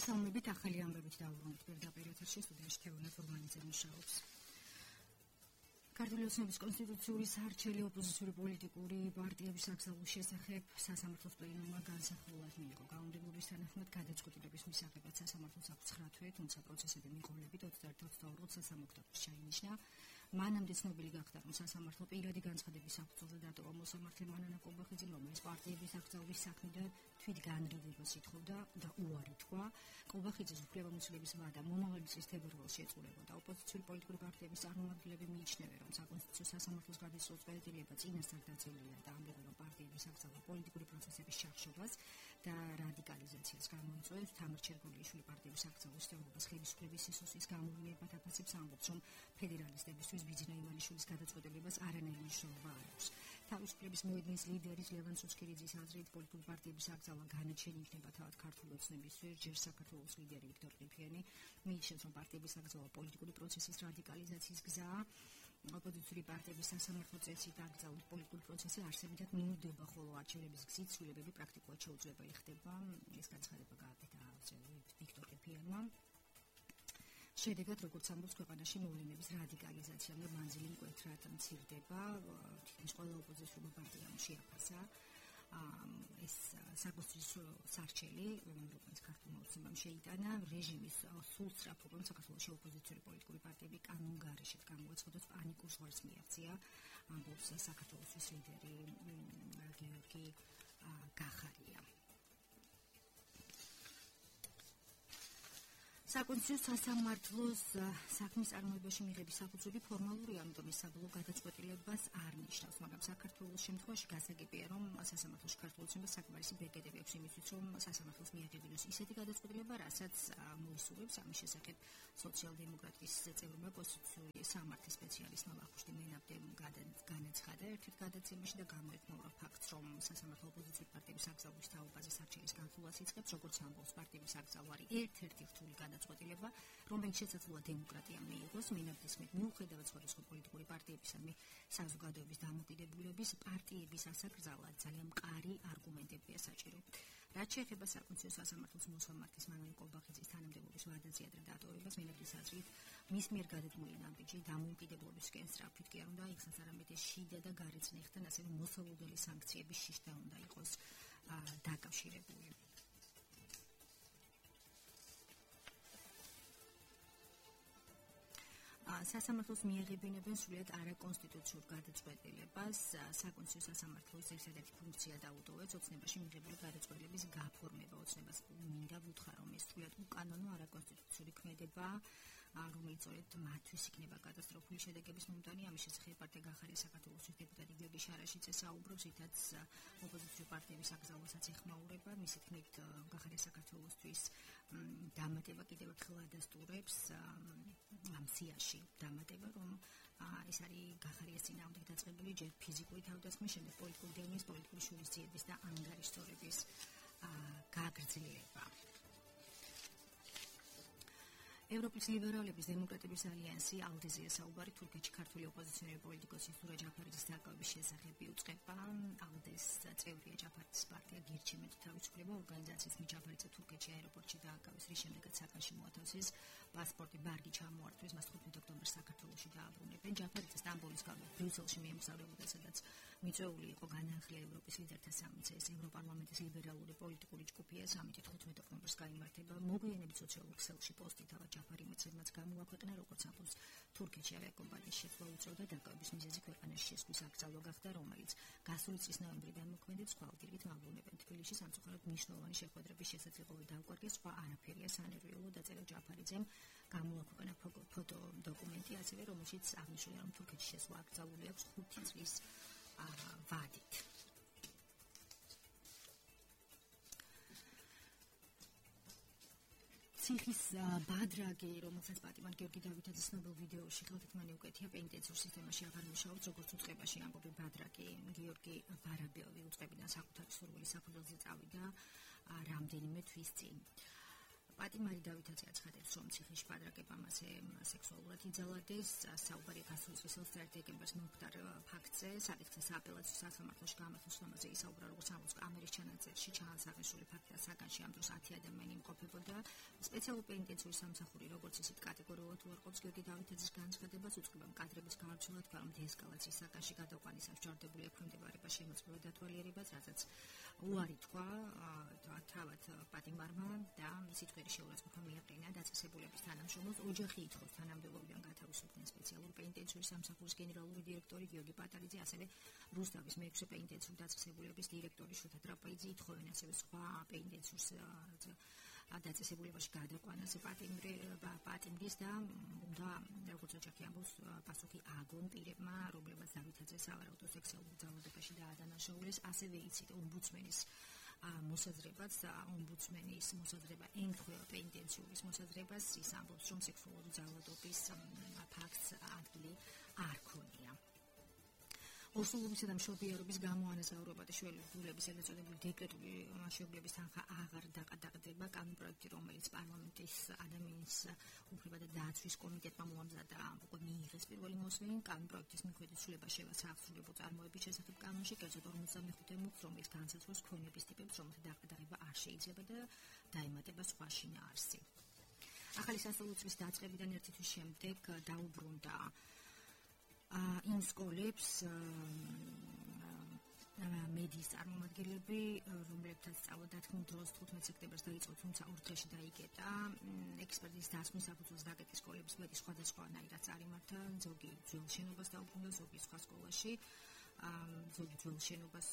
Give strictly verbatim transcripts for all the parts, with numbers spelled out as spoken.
მოგესალმებით ახალი ამბებით დავუბრუნდით პირდაპირ ეთერში სტუდიაში თეონა ფორმალიზე მუშაობს. ქართული ოცნების კონსტიტუციური საარჩელი ოპოზიციური პოლიტიკური პარტიების აკრძალვის შესახებ სასამართლოს პლენუმმა განსახილვად მიიღო. გაუნდობობის თანახმად გადაწყვეტილების მისაღებად სასამართლოს აქვს ცხრა თვე, თუმცა პროცესები მიღოლებით ოცდაერთი ოქტომბერს სასამართლოს შეინიშნა. მანამდე ცნობილი გახდა, რომ სასამართლო პირადი განცხადების საფუძველზე დატოვა მოსამართლე მანანა კობახიძემ, რომელიც პარტიების აკრძალვის საქმიდან თვით განრიდებას ითხოვდა და უარი თქვა. კობახიძის უფლებამოსილების ვადა მომავალი წლის თებერვალს შეწურებოდა. ოპოზიციური პოლიტიკური პარტიების წარმომადგენლები მიიჩნევენ, რომ საკონსტიტუციო სასამართლოს გადაწყვეტილება წვეულება წინასწარ დაძელილია და ამბობენ, რომ პარტიების აკრძალვა პოლიტიკური პროცესების ჩახშობას და რადიკალიზაციას გამოიწვევს. თამარ ჩერგოლიშვილი პარტიების აკრძალვის თეორიას ხელისუფლების სისუსის გამოვლენებად აფასებს, ამბობს, რომ ფედერალისტებისთვის ბიძინა ივანიშვილის გადაწყვეტილებას არანაირი მნიშვნელობა არ აქვს. თავისუფლების მოედნის ლიდერის ლევან სუცქირიძის აზრით, პოლიტიკური პარტიების აკრძალვა განაჩენი იქნება თავად ქართული ოცნებისთვის, ჯერ საქართველოს ლიდერი ვიქტორ ყიფიანი მიიჩნევს, რომ პარტიების აკრძალვა პოლიტიკური პროცესის რადიკალიზაციის გზაა. ოპოზიციური პარტიების სასამართლო წესით აკრძალული პოლიტიკური პროცესი არსებითად მინდდება, ხოლო არჩევნების გზით ცვლილებები პრაქტიკულად შეუძლებელი ხდება. ეს განცხადება გააკეთა ვიქტორ ყიფიანმა. შედეგად, როგორც ამბობს, ქვეყანაში მოვლენების რადიკალიზაცია და მანძილი მკვეთრად მცირდება. თითქმის ყველა ოპოზიციური პარტიამ შეაფასა ეს საკონსტიტუციო საარჩელი, რომელიც ქართულმა ოცნებამ შეიტანა, რეჟიმის სულსწრაფ უყურებს საქართველოში ოპოზიციური პოლიტიკური პარტიები კანონგარეშეც გამოაცხადოს პანიკურ ზღვარს მიაღწია, ამბობს საქართველოს ლიდერი გიორგი გახარია. საკონსტიტუციო სასამართლოს საქმის წარმოებაში მიღების საფუძველი ფორმალურია, ამიტომ ეს საბოლოო გადაწყვეტილებას არ ნიშნავს, მაგრამ საქართველოს შემთხვევაში გასაგებია, რომ სასამართლოში ქართულ ოცნებას საკმარისი ბეგედები აქვს იმისთვის, რომ სასამართლოს მიაღებინოს ისეთი გადაწყვეტილება, რასაც მოისურვებს. ამის შესახებ სოციალ-დემოკრატიის წევრმა კონსტიტუციური სამართლის სპეციალისტმა ვახუშტი მენაბდემ განაცხადა ერთ-ერთ გადაცემაში და გამოეხმაურა ფაქტს, რომ სასამართლო ოპოზიციური პარტიების აკრძალვის თაობაზე საარჩევის განხილვას იწყებს, როგორც ამბობს, პარტიების აკრძალვა არის ერთ-ერთი რთული გადაწყვეტილება, რომელიც შესაძლოა დემოკრატიამ მიიღოს. მენაბდის მით მიუხედავად სხვადასხვა პოლიტიკური პარტიებისადმი საზოგადოების დამოკიდებულების, პარტიების ასაკრძალად ძალიან მყარი არგუმენტებია საჭირო. რაც შეეხება საკონსტიტუციო სასამართლოს მოსამართლის მანანა კობახიძის თანამდებობის ვადაზე ადრე დატოვებას, მენაბდის აზრით, მის მიერ გადადგმული ნაბიჯი დამოუკიდებლობისკენ სწრაფით კი არ უნდა იქცეს, არამედ შიდა და გარეცნეხთან, ასევე მოსალოდნელი სანქციების შიშთან უნდა იყოს დაკავშირებული. სასამართლოს მიაღებინებენ სრულიად არაკონსტიტუციურ გადაწყვეტილებას. საკონსტიტუციო სასამართლოს ერთადერთი ფუნქცია დაუდოვებს ოცნებაში მიღებული გადაწყვეტილების გაფორმება. ოცნებას მინდა ვუთხარ, რომ ეს სრულიად უკანონო არაკონსტიტუციური ქმედებაა, რომელიც სწორედ მათთვის იქნება კატასტროფული შედეგების მომტანი. ამის შესახებ პარტია გახარია საქართველოს დეპუტატი გიორგი შარაშიძე საუბრობს, რითაც ოპოზიციური პარტიების აკრძალვასაც ეხმაურება. მისი თქმით, გახარია საქართველოსთვის დამატება კიდევ ერთხელ ადასტურებს ამ სიაში დამატება, რომ ეს არის გახარიას წინააღმდეგ დაწყებული ჯერ ფიზიკური თავდასხმის, შემდეგ პოლიტიკური დევნის, პოლიტიკური შურისძიების და ანგარიშწორების გაგრძელება. ევროპის ლიბერალების დემოკრატების ალიანსი ალდეზეა საუბარი თურქეთში ქართული ოპოზიციონერი პოლიტიკოსი სურა ჯაფარიძის დაკავების შესახებ იუწყება. ალდეს წევრია ჯაფარიძის პარტია გირჩემეთ თავისუფლება ორგანიზაციის მით ჯაფარიძე თურქეთში აეროპორტში დააკავეს, რის შემდეგაც საკანში მოათავსეს პასპორტი ბარგი ჩამოართვეს, მას ხუთმეტი ოქტომბერს საქართველოში დააბრუნებენ. ჯაფარიძე სტამბოლის გამო ბრიუსელში მიემგზავრებოდა, სადაც მიწვეული იყო განაახლია ევროპის ლიდერთა სამიცე. ეს ევროპარლამენტის ლიბერალური პოლიტიკური ჯგუფია, სამი ხუთმეტი ოქტომბერს გაიმართება. მოგვიანებით სოციალურ ქსელში პოსტი თავად ჯაფარი მეცემაც გამოაქვეყნა, როგორც ამბობს, თურქეთში ავიაკომპანიის შეცვლა უწევდა. დაკავების მიზეზი ქვეყანაში შესვლის აკრძალვა გახდა, რომელიც გასული წლის ნოემბრიდან მოქმედებს. ხვალდირით მაბრუნებენ. თბილისში სამწუხაროდ მნიშვნელოვანი შეხვედრების შესაძლებლობა დაუკარგეს, სხვა არაფერია სანერვიულო დაწერა ჯაფარიძემ. გამოაქვეყნა ფოტო დოკუმენტი, ასევე რომელშიც აღნიშნულია, რომ თურქეთში შესვლა აკრძალული აქვს ხუთი წლის ვადით. ციხის ბადრაგი, რომელსაც პატიმარ გიორგი დავითაძის ცნობილ ვიდეოში ხელთქმანი უკეთია, პენიტენციურ სისტემაში აღარ მუშაობს, როგორც უწყებაში ამბობი ბადრაგი. გიორგი ვარაბელი უწყებიდან საკუთარი სურვილის საფუძველზე წავიდა რამდენიმე თვის წინ. პატიმარი დავითაძე აცხადებს, რომ ციხის შპადრაკებამ ასე სექსუალურად იძალადეს. საუბარი გასულის სტρατეგიებას მომხდარ ფაქტზე, საკითხის აპელაციო სასამართლოში გამართულ სხდომაზე ისაუბრა, როგორც ამბობს კამერის ჩანაწერში, ჩაანსახესული ფაქტია, საგანში ამ დროს ათი ადამიანი იმყოფებოდა. სპეციალური პენიტენციური სამსახური, როგორც ისეთ კატეგორიულად უარყოფს გიორგი დავითაძის განცხადებას, უწყება კადრების გამარჯვება, თქვა, რომ დეესკალაციის საგანში გადაყვანისას ჯარდებული ექვემდებარება შემოწმება დათვალიერებას, რასაც უარი თქვა თავად პატიმარმა და მისი თქმით შეურაცხყოფა მიაყენა დაწესებულების თანამშრომლებს. ოჯახი ითხოვს თანამდებობიდან გათავისუფლდნენ სპეციალური პენიტენციური სამსახურის გენერალური დირექტორი გიორგი პატარიძე, ასევე რუსთავის მეექვსე პენიტენციური დაწესებულების დირექტორი შოთა ტრაპაიძე ითხოვენ ასევე სხვა პენიტენციურ დაწესებულებაში გადაყვანას პატიმრის და უნდა როგორც ოჯახი ამბობს პასუხი აგონ პირებმა, რომლებმაც დავითაძეს სავარაუდო სექსუალურ ძალადობაში დაადანაშაულეს. ასევე იცით ომბუდსმენის მოსაზრებას, ომბუდსმენის მოსაზრება ემთხვევა პენიტენციურის მოსაზრებას, ის ამბობს, რომ სექსუალური ძალადობის ფაქტს ადგილი არ ქონია. ორსულობისა და მშობიარობის გამოანაზავრება და შვილების ეგრეთ წოდებული დეკრეტული მშობიარობის თანხა აღარ დაყრდნება. კანონპროექტი, რომელიც პარლამენტის ადამიანის უფლება და დაცვის კომიტეტმა მოამზადა, უკვე მიიღეს პირველი მოსმენი. კანონპროექტის მიხედვით ცვლილება შევაცა აღსრულებულ წარმოების შესახებ კანონში, კერძოდ ორმოცდამეხუთე მუხლს, რომელიც განსაზღვრავს ქონების ტიპებს, რომელთა დაყრდნება არ შეიძლება და დაემატება სხვა შინაარსი. ახალი სასწავლო წლის დაწყებიდან ერთი თვის შემდეგ დაუბრუნდა იმ სკოლებს მედიის წარმომადგენლები, რომლებთაც სწავლა დათმულ დროს თხუთმეტ სექტემბერს დაიწყო, თუმცა ორ დღეში დაიგეთა. ექსპერტის დასმის საფუძველზე დაგეგმეს სკოლების მეტი სხვადასხვანაირად წარიმართა, ზოგი ძველ შენობას დაუბრუნდა, ზოგი სხვა სკოლაში, ზოგი ძველ შენობას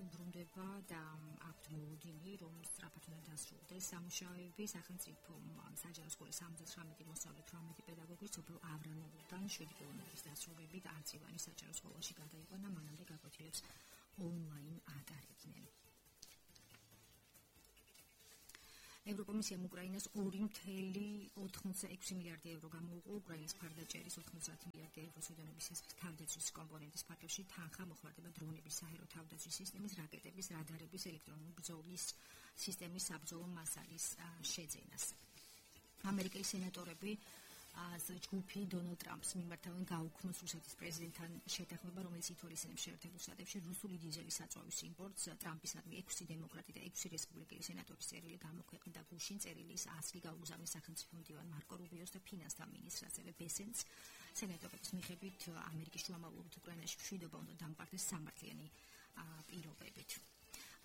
უბრუნდება და აქვთ მოლოდინი, რომ სწრაფად უნდა დასრულდეს სამუშაოები. სახელმწიფო საჯარო სკოლის სამოცდათვრამეტი მოსწავლე, თვრამეტი პედაგოგი სოფელ ავრანოვლიდან შვიდი კილომეტრის დასრულებით არწივანის საჯარო სკოლაში გადაიყვანა, მანამდე გაკვეთილებს ონლაინ ატარებდნენ. ევროკომისიამ უკრაინას ორი მთელი ოთხმოცდა ექვსი მილიარდი ევრო გამოუყო უკრაინის მხარდაჭერის ოთხმოცდაათი მილიარდი ევრო სუდანების თავდაცვის კომპონენტის პაკეტში თანხა მოხმარდება დრონების, საჰაერო თავდაცვის სისტემის, რაკეტების, რადარების, ელექტრონული ბრძოლის სისტემის საბრძოლო მასალის შეძენას. ამერიკელი სენატორები ჯგუფი დონალდ ტრამპს მიმართავენ გაუქმოს რუსეთის პრეზიდენტთან შეთანხმება, რომელიც ითვალისწინებს შეერთებულ შტატებში რუსული დიზელის საწვავის იმპორტს. ტრამპისადმი ექვსი დემოკრატი და ექვსი რესპუბლიკელი სენატორის წერილი გამოქვეყნდა გუშინ. წერილი ის ასლი გაუგზავნის სახელმწიფო მდივან მარკო რუბიოს და ფინანსთა მინისტრს, ასევე ბესენს. სენატორების მიხედვით ამერიკის შუამავლობით უკრაინაში მშვიდობა უნდა დამყარდეს სამართლიანი პირობებით.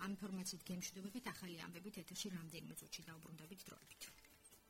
ამ ინფორმაციით გემშვიდობებით, ახალი ამბებით ეთერში რამდენიმე წუთში დაუბრუნდებით დროებით.